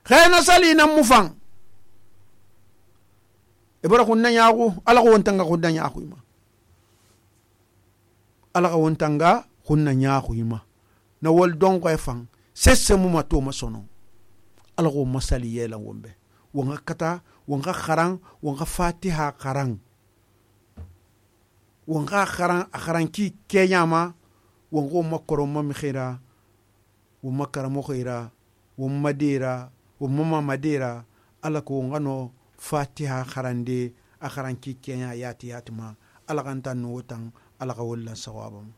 khayna sali nan mufan ibara kunna nyago ala ko wontanga kunna nyago ima ala ko wontanga kunna nyago ima na wol don ko efan sesse mu mato masono ala ko masali yela wombe wonga kata wonga kharan wonga fatiha kharan wonga kharan ki kenyama wongo makoro mami khira wo makara mo khira wo madira wo mama madira ala ko ngano fatiha kharande a kharan ki kenya yati yatima ala kan tan no tan ala ka walla sawabam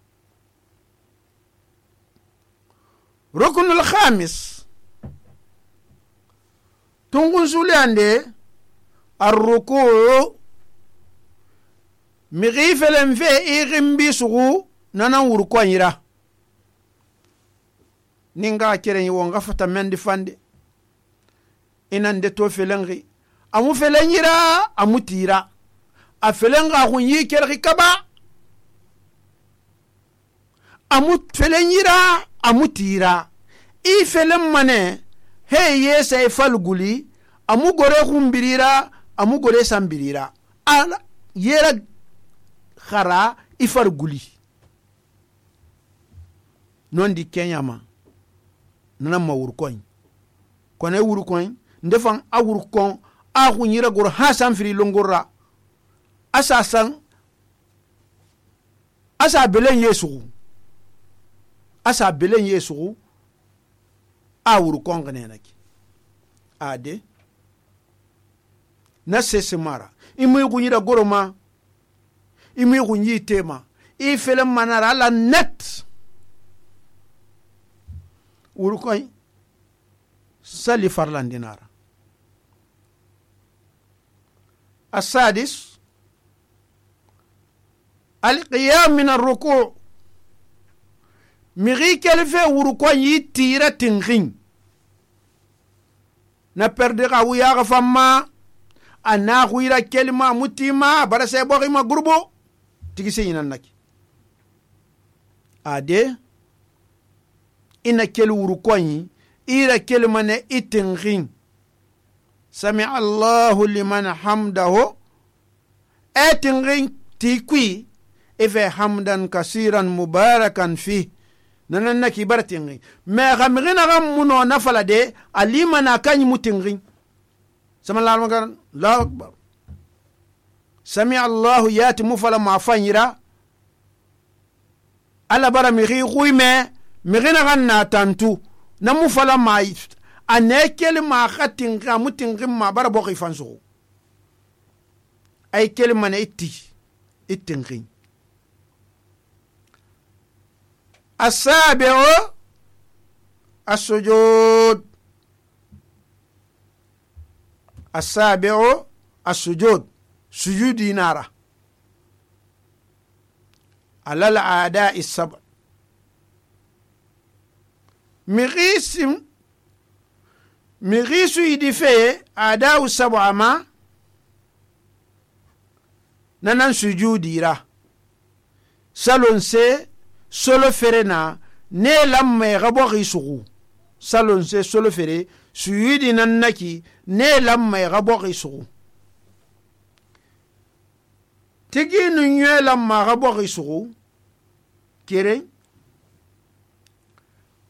rukunul khamis tungun sulande arruku mighifelen fe ighimbi sugu nanan wurko yira ninga keren yi wonga fata mendi fande inan de to felengi amu felen yira amu tira a felenga hun yi kerki kaba amu felen yira amu tira i felen mane he yesa e falguli amu gore khumbirira amu gore sambirira ala yera khara ifar guli non di kenyama nana ma wurkoin kone wurkoin ndefan a wurkon a khunyira gor hasan firi longorra asasan asa belen yesu a wurkon ganenaki ade na sese mara imu khunyira goroma imu khunyi tema I felem manara la net urukoy sali farlandinara السادس القيام من الركوع مغي كلفه وركوع يتيرا تنغين نبردغا وياغ فما أنا خويرا كلمة متيما برسي بوغي ما غربو تيجي سينا نكي ade ina kel wurukoyi ira kelmane itingin sami Allahu liman hamdahu etingin tikwi ife hamdan kasiran mubarakan fi nanan naki baratingin me gamgina gam muno nafala de alimana kanyi mutingin sama Allahu akbar Allahu akbar sami Allahu yati mufala mafanyira ala bara mi khuyme mi gina ganna tantu namu fala mai anekel ma khatin kamutin ma bara bo khifansu ay kelma ne ittinqin asabi'u as-sujud asabi'u as-sujud sujudi nara على الأعداء السبع مغيس يدفع أعداء السبع ما ننن سجودي را سالون سي سولو فرنا ne lamme gabo gisugu salon se solo fere suyidi nannaki ne lamme gabo gisugu tigi nu nye lamma gabo gisugu kere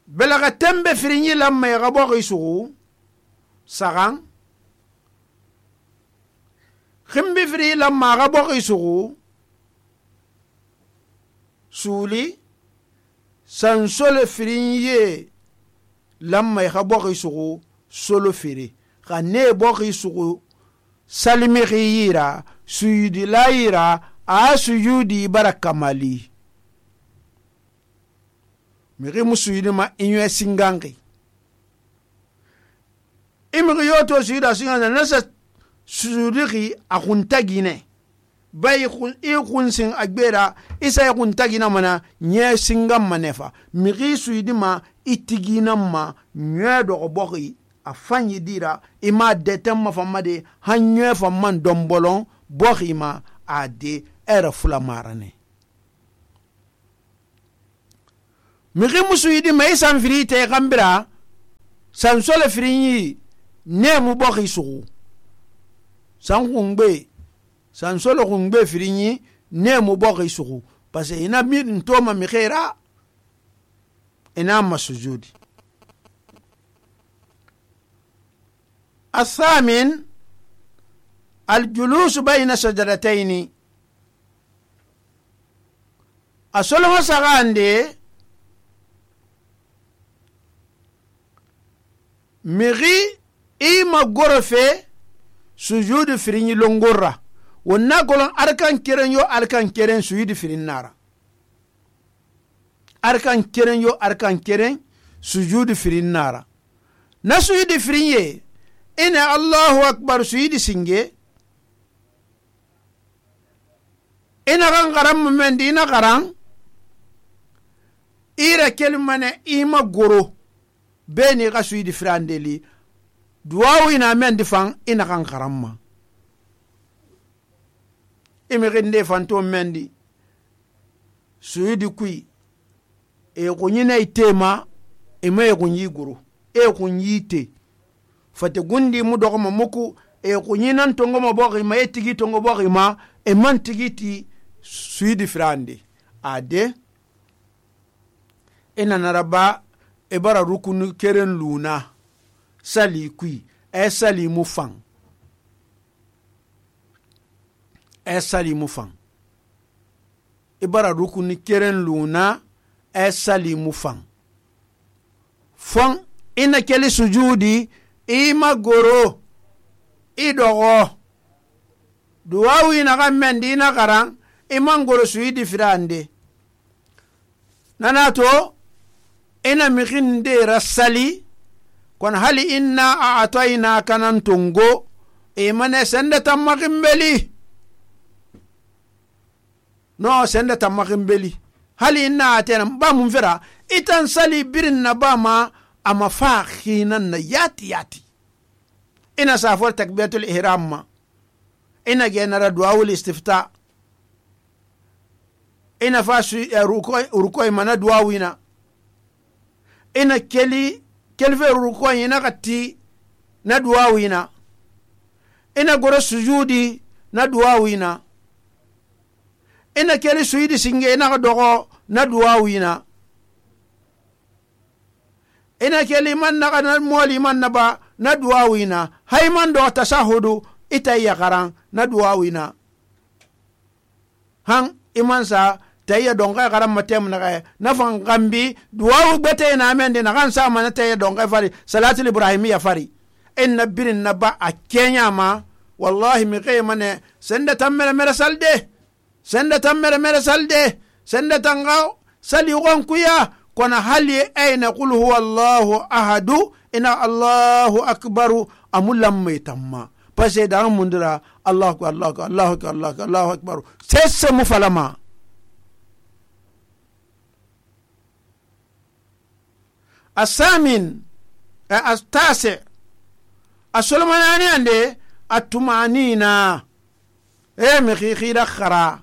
belaga tembe firinyi lamma gabo gisugu sagan khimbi firi lamma gabo gisugu suli san solo firinye lamma gabo gisugu solo firi khane bo gisugu salimi khira suyudi laira a suyudi barakamali miri musuyidi ma inyo singangi imiri yoto suyida singana nasa suyudi akuntagine bai ikunsin agbera isa akuntagina mana nye singam manefa miri suyidi ma itigina ma nye dogobogi afanyi dira ima detem mafamade hanye famman dombolon bokhima ade era fula marane migi musuyidi mai sanfiri te gambira sansole firinyi nemu bɔxi suxu san xungbe sansole xungbe firinyi nemu bɔxi suxu parce que ina ntoma mixera ina masujudi. الثامن الجلوس بين سجدتين أصلما سغاندي مغي إيما غرفة سجود فريني لونغورا ونقولون أركان كيرن يو أركان كيرن سجود فرين نارا أركان كيرن يو أركان كيرن سجود فرين نارا نسجود فرين ina Allahu akbar suyidi singe ina kan garan mendi ina garan ira kelmane ima goro beni ga suyidi frandeli duwawu ina mendi fan ina kan garan ma imi ginde fanto mendi suyidi kui e kunyina itema ima e kunyi goro e kunyi te fate gundi mu dogoma muku e kunyinan tongo mo bogi ma etigi tongo bogi ma e man tigiti suidi frande ade ina naraba e bara rukunu keren luna sali kui e sali mu fan e sali mu fan e bara rukunu keren luna e sali mu fan fon ina keli sujudi ima goro idogo duwawi na mendi na karan iman goro suidi firande nanato ina mikinde rasali kon hali inna a'tayna kanan tungo imane sende tamakimbeli no sende tamakimbeli hali inna atena ba mun fira itan sali birin na ba ma ama fakhinan na yati ina safar takbiratul ihram ma ina genara duawul istifta ina fasu rukoy mana duawina ina kelfe rukoy ina katti na duawina ina goro sujudi na duawina ina keli sujudi singe ina dogo na duawina ina keli man na moli man na ba na duawina hayman do tashahudu itayya qaran na duawina han iman sa tayya donga qaran matem na na fan gambi duawu bete na mende na kan sa man tayya donga fari salatul ibrahimiyya fari inna birin na ba akenya ma wallahi mi qaymane senda tammere mere salde senda tammere mere salde senda tanga sali gon kuya kona hali ayna qul huwa Allahu ahadu ina Allahu akbaru amulam metamma pase da mundira Allahu akbar Allahu akbar Allahu akbar sesse mufalama asamin astase asulmanani ande atumanina mi khira khara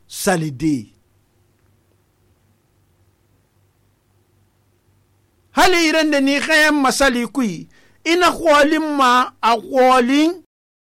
salidi hali irende ni khayam masali kui ina khwalin ma a khwalin